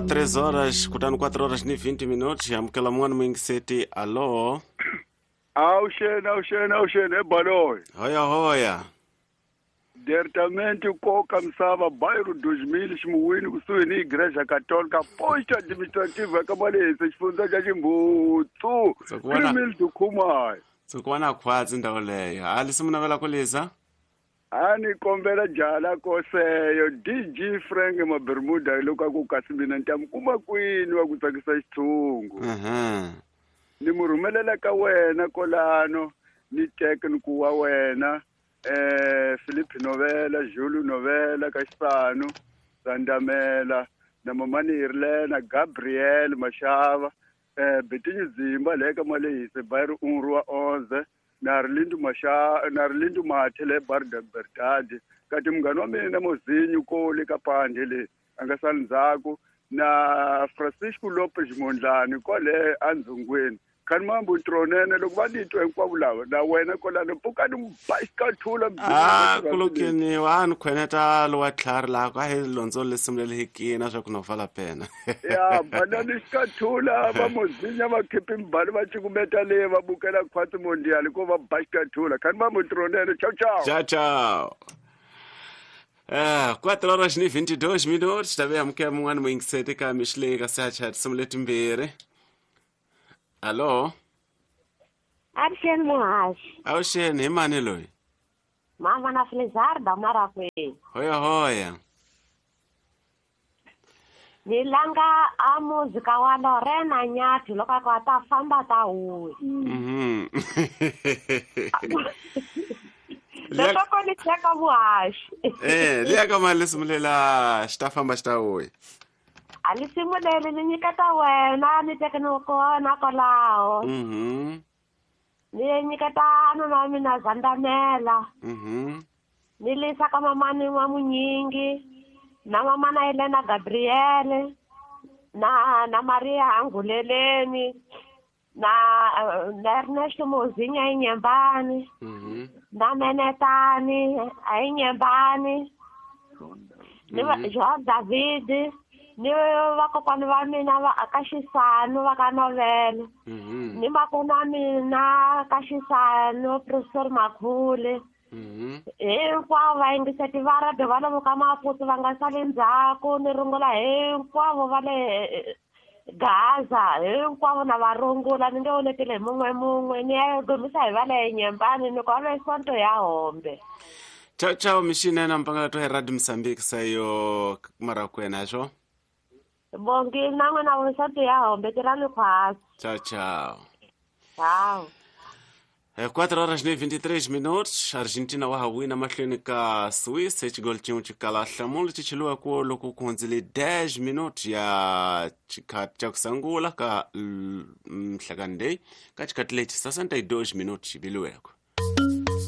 3 horas kutani 4 horas ni 20 minutos amukela mun'wana muyingiseti. Allo. Awuxeni, awuxeni, awuxeni ebaloyi. Hoya hoya. Diretamente koka misava bairro 2000 ximuwini kusuhi ni Igreja Católica posto administrativa ka Malese xifundza xa Ximbutsu. 3000 Dukhumai. Tsukwana khwatsi ndhawu leyo. A lisi navela ku liza? A ni kombela jala koseyo DG Frank Mabermuda loko a ku kasi mina ni ta mi kuma kwini wa ku tsakisa xitshungu. Ni mu rhumelela ka wena kolano ni teke ni ku wa wena Philip Novela, Julu Novela ka Xisanu, Sandamela na Mamani Irlena, Gabriel Mashava, Betinho Zimba le ka Malehise Bairro 1 Rua 11 na Arlindo Masha, na Arlindo Mathe le Bar da Verdade, kati munghana wa mina Mozinho Koli ka Pandhe le a nga sali ndzhaku na Francisco Lopez Mondlane kwale andzungweni. Khanimambu Tronene loko va titwa hinkwavo lava na wena kwalano pfukani ba xikathula. A kulukeniwa a ni khweneta lowa tlhari laha ku a hi londzo lesimulele hi kina swa ku no vala pena. Ya banani xikathula va mozinya va khipi mbali va cukumeta le va bukela khwatsi mondial ko va ba xikathula. Khanimambu Tronene, ciao ciao. Ciao ciao. 4 horas ni 22 minutos tabe amukela mun'wana muyingiseti ka mixileka ka sacha tinsimu letimbirhi. Allo. Avuxeni muhaxi. Avuxeni, hi mani loyi? Mama na Felizarda Marakwini. Hoya hoya. Ni langa a muzika wa Lorena Nyathi loko a ku a ta famba ta huya. Leswaku ni cheka muhaxi. Liya ka mali lesimulela xi ta famba xi ta huya. A li simuleli ni nyiketa wena ni teke ni kona kwalaho. Ni nyiketa nuna wa mina Zandamela. Ni lisa ka mamani wa Munyingi na mamana Elena Gabriele na Maria Anguleleni na Ernesto Mozinha Inyembani na Menetani a Inyembani ni João David ni vakokwani va mina va ka Xisanu va ka Novela ni makona mina ka Xisanu Professor Makhule hinkwavo va yingiseti va radio va lomu ka Maputo va nga sali ndzhaku ni rungula hinkwavo va le Gaza hinkwavo na va rungula ni nge onetile hi mun'we mun'we ni ya gomisa hi va le Nyembani ni ku va Sonto ya Hombe. Ciao ciao mixinene mpangela to hi Radio Mozambique sayo Marakwena swo. Bongi na n'wina Sonto ya Hombe tirhani khwatsi. Ciao ciao. Ciao. 4 horas e 23 minutos, Argentina wa ha wina mahlweni ka Swiss hi xigolo xin'we xikala hlamula xi cheliwa ku loko ku hundzile 10 minutos ya xikhathi xa ku sungula ka mhlakani leyi ka xikhathi lexi 62 minutos xi viliweke.